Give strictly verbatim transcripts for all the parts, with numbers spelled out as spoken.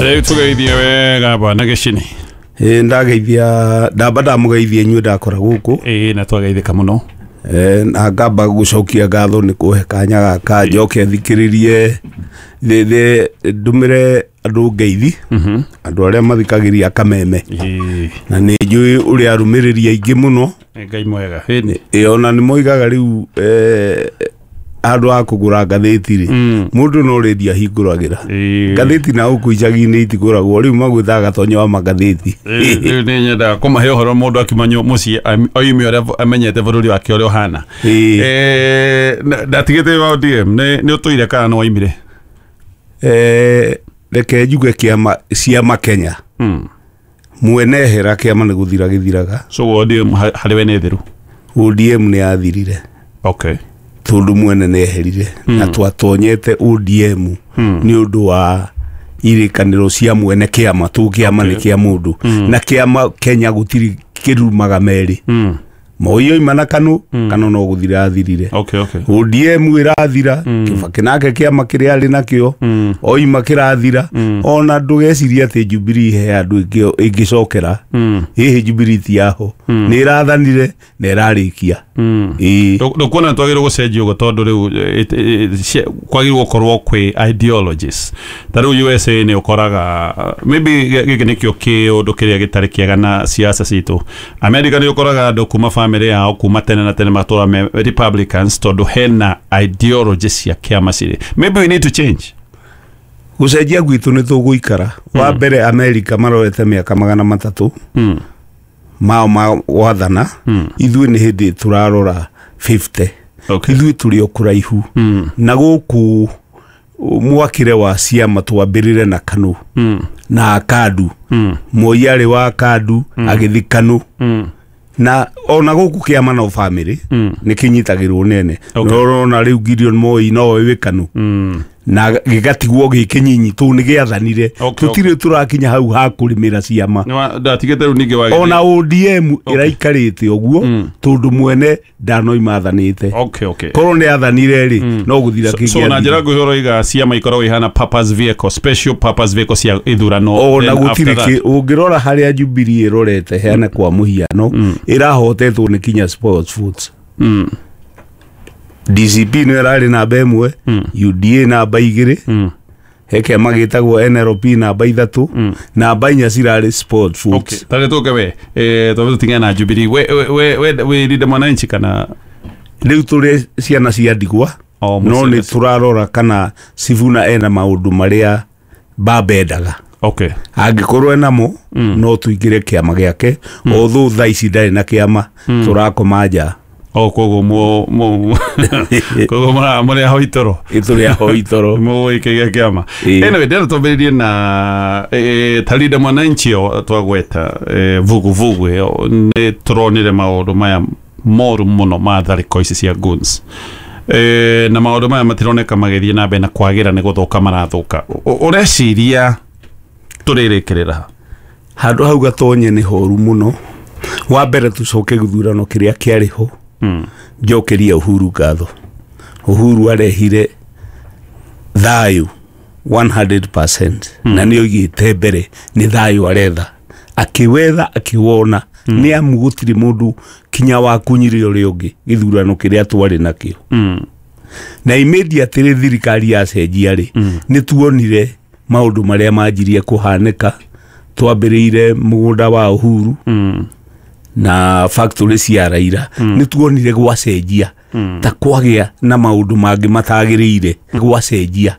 Rĩu tũgeithie wega bwana Gĩcini. Ĩ ndageithia, ndamba ndamũgeithia inyuĩ ndakora gũkũ. Ĩĩ, na twageithĩka mũno. Eh, na ngamba gũcokia ngatho nĩ kũhe kanya gaka njoke thikĩrĩrie thĩ ndũmĩre andũ ngeithi, andũ arĩa mathikagĩria Kameme. Ĩĩ. Na nĩ njũĩ ũrĩa arũmĩrĩri aingĩ mũno. Ngai mwega. Ĩni. Ĩ ona nĩ moigaga rĩu eh, handũ ha kũgũra ngathĩti rĩ, mũndũ no rĩndio ahingũragĩra. Ĩĩ. Ngathĩti na gũkũ icagi-inĩ itigũragwo, rĩu magwĩtaga gatonya wa magathĩti. Rĩu rĩu nĩ nyendaga kũmahe ũhoro mũndũ akiuma nyu- mũciĩ am- oime ũrĩa amenyete bũrũri wake ũrĩa ũhana. Ĩĩ. Eh, na- ndatigĩte wa O D M nĩ nĩ ũtũire kana nĩ waimire? Eh, reke njuge kĩama ciama Kenya Mm. mwene hera kĩama nĩ gũthira gĩthiraga. So O D M ha- harĩ we nĩ thiru? O D M nĩ yathirire. Okay. Tondũ mwene nĩ eherire na twatonyete O D M nĩ ũndũ wa irĩkanĩro cia mwene kĩama tũ kĩama nĩ kĩa mũndũ na kĩama Kenya gũtirĩ kĩrumaga merĩ. Mm. Moi oima na Kanu, Kanu no gũthira athirire. Okay, okay. O D M ĩrathira, Kibaki nake kĩama kĩrĩa arĩ nakĩo oima kĩrathira. Ona ndũgecirie atĩ Jubilee he andũ ĩngĩ- ĩngĩcokera. Hihi Jubilee ti yaho, nĩ ĩrathanire na ĩrarĩkia. Ĩĩ. Ndũkuona twagĩrĩirwo gũcenjia ũguo tondũ rĩu eh, it- eh, cia- kwagĩrĩirwo gũkorwo kwĩ ideologies ta rĩu U S A nĩ ũkoraga uh, maybe gĩ- gĩkĩ nĩkĩo kĩũndũ kĩrĩa gĩtarĩ kĩega na siasa citũ America. Nĩ ũkoraga andũ kuma family yao kuma tene na tene matũra me Republicans tondũ hena ideology cia kĩama cirĩ. Maybe we need to change. Gũcenjia gwitũ nĩ tũgũikara wa mbere. America maroete mĩaka magana matatũ mm. mao ma gwathana, ithuĩ nĩ hĩndĩ tũrarora mĩrongo ĩtano. Okay. Ithuĩ tũrĩ o kũraihu na gũkũ mwakĩre wa ciama twambĩrĩre na Kanu Mm. na Kandu. Mm. Moi arĩ wa Kandu agĩthi Kanu. Mm. Na ona gũkũ kĩama no family Mm. nĩ kĩnyitagĩrwo nene. Okay. No ũrona rĩu Gideon Moi nowe wĩ Kanu Mm. na gĩgatigwo gĩkĩnyinyi tũ nĩ gĩathanire. Okay, Tũtirĩ tũrakinya hau ha kũrĩmĩra ciama. Nĩ wa- ndatigĩte rĩu ningĩ wagĩrĩire. Ona O D M ĩraikarĩte ũguo tondũ mwene ndanoima athanĩte. okay okay Korwo nĩ athanire rĩ, no gũthira. So na njĩra kĩngĩathira. nguhĩ ũroiga ciama ikoragwo ihana purpose vehicle, special purpose vehicle cia ithurano. Ona Then gũtirĩ after that- kĩ ũngĩrora harĩa Jubilee ĩrorete heane kwa mũhiano, ĩrahotetwo nĩ kinya sports foods. Mm. D C P nĩyo ĩrarĩ namba ĩmwe, U D A namba igĩrĩ, Mm. he kĩama gĩtagwo N L P namba ithatũ, namba inya cirarĩ sport foods. Okay, tarĩ tũke we eh twambe tũting'ane na Jubilee. We we we we wĩ Linda Mwananchi kana? Rĩu tũrĩ ciana cia ndigwa. O, no nĩ mũciĩ- tũrarora kana Sifuna ena maũndũ marĩa baba endaga. Okay angĩkorwo enamo no tũingĩre kĩama gĩake, although thaa ici ndarĩ na kĩama, tũrakoma nja. O koguo mu mu koguo mũra mũrĩ aho itoro. Ĩ tũrĩ aho itoro. Mũgũikĩria kĩama. Ĩĩ. Anyway, ndĩrenda twambĩrĩrie na eh, ta Linda Mwananchi ĩyo twagweta, eh, vuguvugu ĩyo, nĩ tũronire maũndũ maya moru mũno ma tharĩko ici cia goons. Eh, na maũndũ maya matironeka magĩthiĩ na mbere na kwagĩra, nĩ gũthũka marathũka. Ũ- ũreciria tũrĩrĩkĩrĩra ha? Handũ hau gatonye nĩ horu mũno. Wa mbere tũcoke gĩthurano kĩrĩa kĩarĩ ho. Mm. Njokeria Uhuru ngatho. Uhuru arehire thayũ igana rĩmwe na nĩ oigĩte mbere nĩ thayũ aretha, akĩwetha akĩwona. Nĩ amu gũtirĩ mũndũ kinya wakunyire ũrĩa ũngĩ gĩthurano kĩrĩa twarĩ nakĩo. Mm. Na immediately thirikari yacenjia rĩ, nĩ tuonire maũndũ marĩa manjirie kũhanĩka. Twambĩrĩire mũgũnda wa Uhuru Mm. na factory cia Raila. Nĩ tuonire gwacenjia ta kwagĩa na maũndũ mangĩ matagĩrĩire, gwacenjia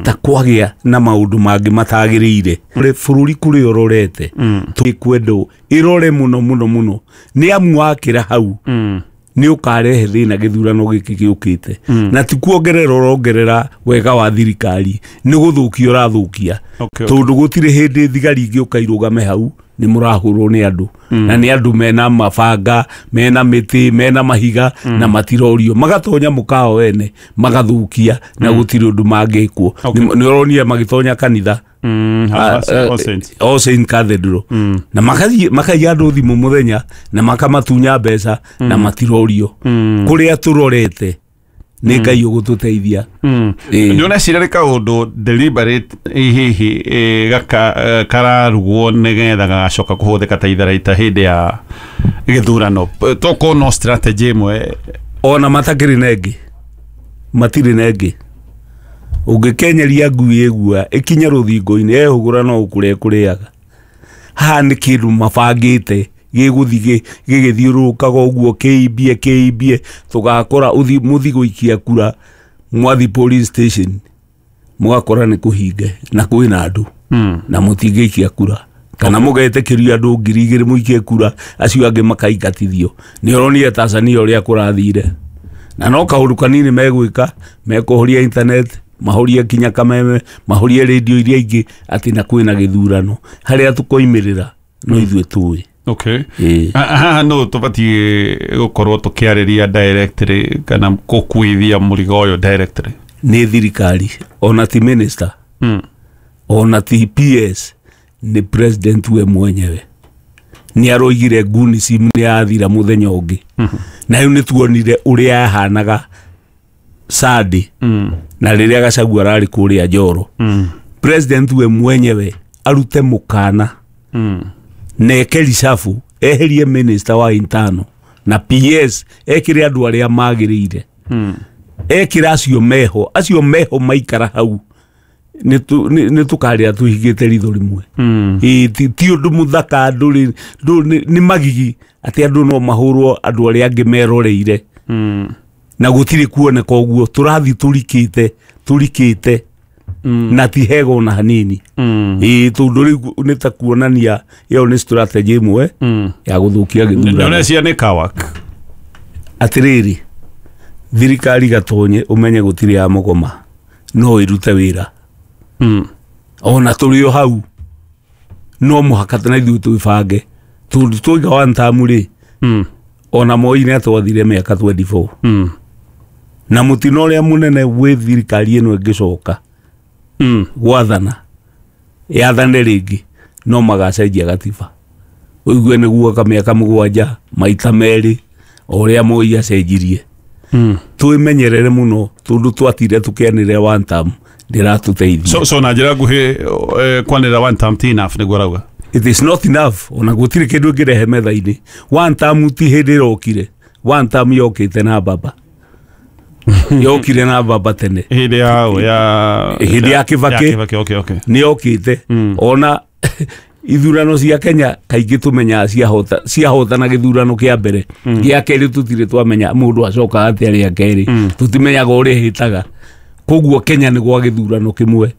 ta kwagĩa na maũndũ mangĩ matagĩrĩire. Bũrũri kũrĩa ũrorete twĩkwendwo ĩrore mũno mũno mũno, nĩ amu wakĩra hau Mm. nĩ ũkarehe thĩna gĩthurano gĩkĩ gĩũkĩte. Na ti kuongerera ũrongerera wega wa thirikari, nĩ gũthũkia ũrathũkia. Okay, okay. Tondũ gũtirĩ hĩndĩ thigari ingĩũka irũgame hau nĩ mũrahũrwo nĩ andũ, na nĩ andũ mena mabanga, mena mĩtĩ, mena mahiga, na matirorio magatonya mũkawa wene magathũkia na gũtirĩ ũndũ mangĩkwo. Okay. Nĩ ũronire magĩtonya kanitha. Mm. Ah, All eh, Saints. All Saints Cathedral, na makathiĩ makaiya andũ thimũ mũthenya na makamatunya mbeca na matirorio. Kũrĩa tũrorete Nĩ Ngai ũgũtũteithia. Ĩĩ. Nä ũreciria nä kaå deliberate hihi eh, gaka eh, kararugwo nä getha gagacoka kå hå thä ka ta itharaita hä ndä ya gä thurano, tokorwo no strategy ĩmwe? Ona matakĩrĩ na ĩngĩ, matirĩ na ĩngĩ. Ũngĩkenyeria ngui ĩgua ĩkinye rũthingo-inĩ, ehũgũra no ũkũrĩa ĩkũrĩaga. Haha nĩ kĩndũ mabangĩte gĩgũthiĩ gĩ- gĩgĩthiũrũrũkaga ũguo, kĩimbie kĩimbie, tũgakora ũthi- mũthi gũikia kura, mwathi police station mũgakora nĩ kũhinge na kwĩna andũ Mm. na mũtingĩikia kura, kana mũgetĩkĩrio andũ ngiri igĩrĩ mũikie kura, acio angĩ makaingatithio. Nĩ ũronire Tanzania ũrĩa kũrathire, na no kaũndũ kanini megwĩka, mekũhoria internet, mahorie kinya kameme, mahorie radio iria ingĩ, atĩ na kwĩna gĩthurano. Harĩa tũkoimĩrĩra no ithuĩ tũĩ. Okay. Ĩĩ. Ha- haha no tũbatiĩ gũkorwo tũkĩarĩria directly kana gũkuithia mũrigo ũyũ directly? Nĩ thirikari, ona ti minister, mm. ona ti P S, nĩ president we mwenyewe. Nĩ aroigire ngunisim nĩ yathira mũthenya ũngĩ, na rĩu nĩ tuonire ũrĩa yahanaga Sunday Mm. na rĩrĩa Gachagua ararĩ kũrĩa Njoro. Mm. President we mwenyewe arute mũkana Mm. na eke reshuffle, eherie minister wa internal na P S, ekĩre andũ arĩa magĩrĩire. Mm. Ekĩra acio meho, acio meho maikara hau, nĩ tu- nĩ nĩ tũkarĩra tũhingĩte ritho rĩmwe. Mm. Ĩĩ, ti ti ũndũ mũthaka. Ndũrĩ ndũ- nĩ nĩ magigi atĩ andũ no mahũrwo andũ arĩa angĩ meroreire Mm. na gũtirĩ kuoneka. Ũguo tũrathiĩ tũrikĩte tũrikĩte Mm. na ti hega ona hanini. Mm. Ĩĩ, tondũ rĩu nĩ ta kuonania ĩyo nĩ strategy ĩmwe Mm. ya gũthũkia Nĩ gĩthurano. ũreciria nĩ kawak? Atĩrĩrĩ, thirikari gatonye ũmenye gũtirĩ ya mũgoma, no ĩrute wĩra. Mm. Ona tũrĩ o hau no mũhaka na ithuĩ twĩbange, tondũ twaiga one term rĩ, Mm. ona Moi nĩ atwathire mĩaka mĩrongo ĩrĩ na ĩna. Mm. Na mũtino ũrĩa mũnene wĩ thirikari ĩno ĩngĩcoka Mm. gwathana, yathane rĩngĩ, no magacenjia gatiba, ũigue nĩ guoka mĩaka mũgwanja maita merĩ, o ũrĩa Moi acenjirie. Mm. Twĩmenyerere mũno, tondũ twatire tũkĩanĩrĩra one term ndĩratũteithia. so so na njĩra nguhĩ, eh, kwanĩrĩra one term ti enough, nĩguo arauga? It is not enough. Ona gũtirĩ kĩndũ ĩngĩrehe metha-inĩ. One term ti hĩndĩ ĩrokire. One term yokĩte na baba, yokire na baba tene. Hĩndĩ ya ya Hĩndĩ ya Kibaki. Ya Kibaki, okay okay Nĩ yokĩte. Mm. Ona ithurano cia Kenya kaingĩ tũmenyaga ciahota ciahotana gĩthurano kĩa mbere, gĩa kerĩ tũtirĩ twamenya mũndũ acokaga atĩa rĩa kerĩ. Tũtimenyaga ũrĩa hĩtaga. Koguo Kenya nĩ gwa gĩthurano kĩmwe.